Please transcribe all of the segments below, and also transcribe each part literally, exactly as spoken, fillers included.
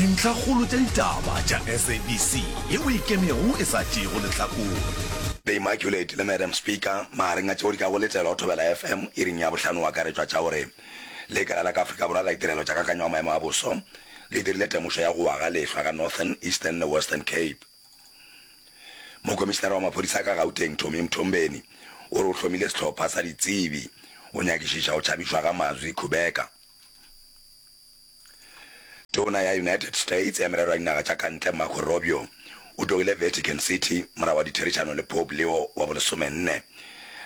Dintlhakgolo tša ditaba tša S A B C yeo e ikemego e sa tšeego lehlakore. The Immaculate le Madam Speaker magareng a tšeo di ka go letelwa go Thobela F M iring ya bohlano o akaretšwa tša gore Lekala la ka Afrika Borwa la Ditirelo tša Kakanyo ya Maemo a Boso le dirile temošo ya go wa ga lehlwa ka Northern, Eastern le Western Cape. Mokomišinara wa maphodisa ka Gauteng Tommy Mthombeni o re o hlomile sehlopha sa ditsebi go nyakišiša go tšhabišwa ga Mazwi Khubeka. Tona ya United States ya Merero ya Dinaga tša ka Ntle Marco Rubio o tlogile Vatican City morago ga ditherišano le Pope Leo wa bolesomenne.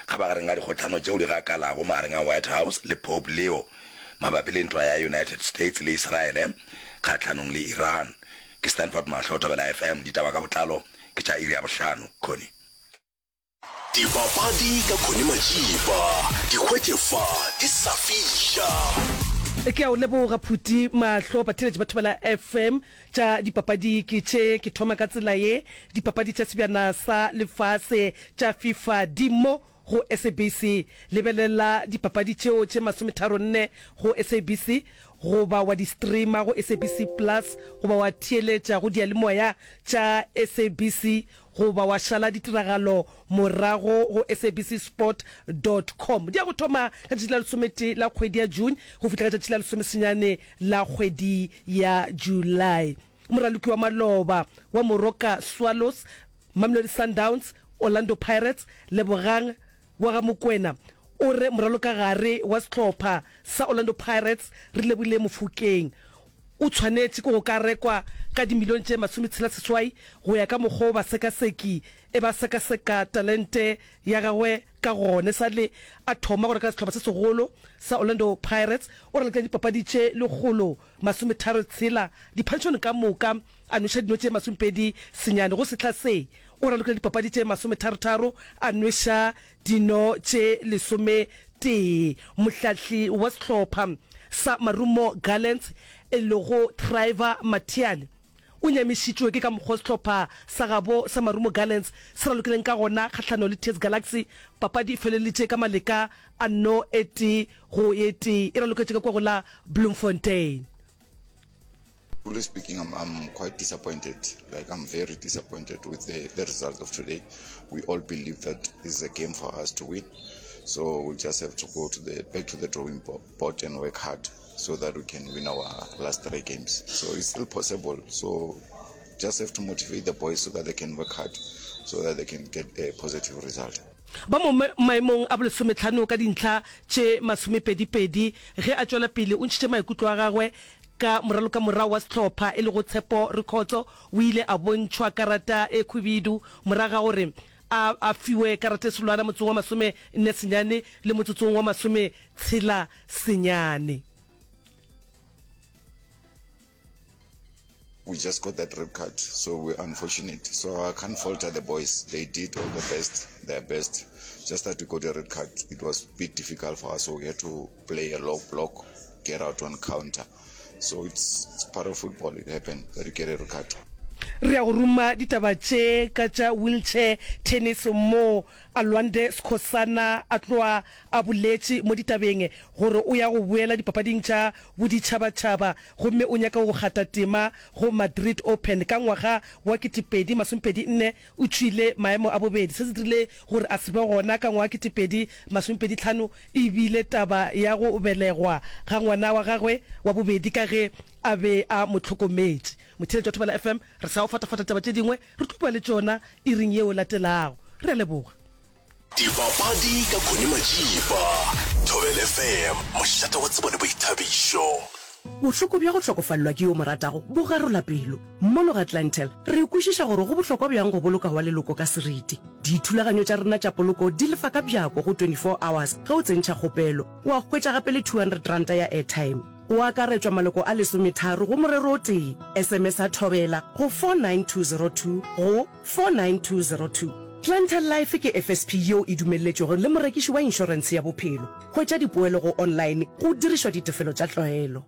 Kgabagareng ga dikgohlano tšeo di gakalago magareng a White House le Pope Leo mabapi le ntwa ya United States le Israele kgahlanong le Iran. Ke Stanford Mahlo, Thobela F M, ditaba ka botlalo ke tša iri ya bohlano. Connie. Dipapadi ka Connie Majiba, di hwetše fa di sa fiša. Ke a o leboga Phuti Mahlo. Batheeletši ba Thobela F M, tša dipapadi ke tše. Ke thoma ka tsela ye, dipapadi tša Sebjana sa Lefase tša FIFA di mo go S A B C. Lebelela dipapadi tšeo tše masometharo-nne go S A B C goba wa di streama go S A B C Plus goba wa theeletša go diyalemoya tša S A B C goba wa šala ditiragalo morago go S A B C sport dot com. Di ya go thoma ka letšatši la lesometee la kgwedi ya June go fihla ka letšatši la lesomesenyane la kgwedi ya July. Moraloki wa maloba wa Moroka Swallows, Mamelodi Sundowns, Orlando Pirates, Lebogang wa ga Mokwena o re moralokagare wa sehlopha sa Orlando Pirates Relebohile Mofokeng o tshwanetše ke go ka rekwa ka dimilione tše masometshela seswai go ya ka mokgwa o basekaseki e ba sekaseka talente ya gagwe ka gona. E sa le a thoma go reka sehlopha se segolo sa Orlando Pirates, o ralokile dipapadi tše lekgolo masometharo tshela diphadišanong ka moka, a nweša dino tše masomepedi senyane. Go sehla se, o ralokile dipapadi tše masometharotharo, a nweša dino tše lesometee. Mohlahli wa sehlopha sa Marumo Gallants e lego Trevor Mathiane o nyamišitšwe ke ka mokgwa sehlopha sa gabo sa Marumo Gallants se ralokileng ka gona kgahlanong le T S Galaxy. Papadi e feleleditše ka maleka a no e tee go ye tee, e raloketše ka kua go la Bloemfontein. Truly speaking, I'm, I'm quite disappointed. Like, I'm very disappointed with the, the result of today. We all believe that this is a game for us to win. So we just have to go to the back to the drawing board and work hard so that we can win our last three games. So it's still possible. So just have to motivate the boys so that they can work hard, so that they can get a positive result. Ba mo maemong a bolesometlhano ka dintlha tše masomepedi-pedi. Ge a tšwela pele o ntšhitše maikutlo a gagwe ka moralokamorago wa sehlopha e lego Tshepo Rikhotso. O ile a bontšhwa karata e khwibidu morago ga gore a a fiwe karata e selwana motsotsong wa masome nne senyane le motsotsong wa masome tshela senyane. We just got that red card, so we're unfortunate. So I can't falter the boys. They did all the best, their best. Just that we got a red card, it was a bit difficult for us. So we had to play a low block, get out on counter. So it's, it's part of football. It happened that you get a red card. Re ya go ruma ditaba tše ka tša wheelchair tennis mo Alwande Skhosana a tloa a boletše mo ditabeng gore o ya go boela dipapading tša boditšhabatšhaba gomme o nyaka go kgatha tema go Madrid Open ka ngwaga wa ketepedi masomepedi nne. O tšwile maemo a bobedi, se se dirile gore a se be gona ka ngwaga ketepedi masomepedi tlhano. E bile taba ya go belegwa ga ngwana wa gagwe wa bobedi ka ge a be a mo hlokometše. Motheeletši wa Thobela F M, re sa go fatafata taba tše dingwe, re tlo bua le tšona iring yeo latelago. Re a leboga. Dipapadi ka Connie Majiba, Thobela F M, mošate wa tsebo le boithabišo. Bohloko bja go hlokofalelwa ke yo o mo ratago bo garola pelo. Mono ga Clientele, re kwešiša gore go bohlokwa bjang go boloka wa leloko ka seriti. Dithulaganyo tša rena tša poloko di lefa ka bjako go twenty four hours ge o tsentšha kgopelo. Wa hwetša gape le two hundred ranta ya airtime. Go akaretšwa maloko a lesometharo go morero o tee. S M S a Thobela go four nine two zero two go four nine two zero two. Clientele Life ke F S P yeo e dumelletšwego le morekiši wa inšorentshe ya bophelo. Hwetša dipoelo go online go dirišwa ditefelo tša tlwaelo.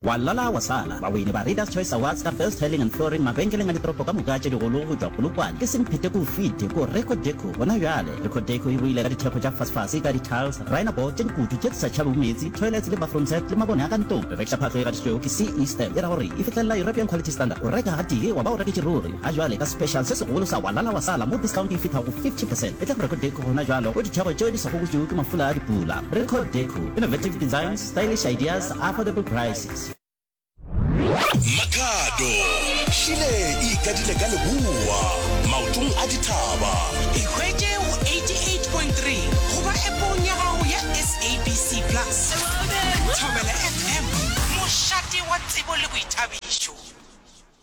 Wa lala wa sala. Bawini ba Readers Choice Awards ka Best Tiling and Flooring mabenkeleng a ditoropo ka moka tše digolo go tšwa Polokwane ke Semphete ko fite ko Reco Deco gona bjale. Reco Deco e boile ka dithekgo tša fasefase ka di-tiles, rhino-board tše dikutu tše di sa tšhabego meetse, toilets le bathroom set le mabone a ka ntlong. Re rekiša phahlo e gatišitšwego ke C E Stamp e ra gore e fihlelela European Quality Standard. O reka gatee wa ba o reketše ruri. Ga jwale ka special se segolo sa wa lala wa sala mo discount e fihla go fifty percent. Etla go Reco Deco gona bjalo go dithekgo tšeo di sa gogotšwego ke mafula a dipula. Reco Deco, innovative designs, stylish ideas, affordable prices. Makhado, Šile e ikadile ka leboa, maotong a dithaba. Ikhwetše go eighty eight point three goba appong ya gago ya S A B C Plus. Thobela F M, mošate wa tsebo le boithabišo.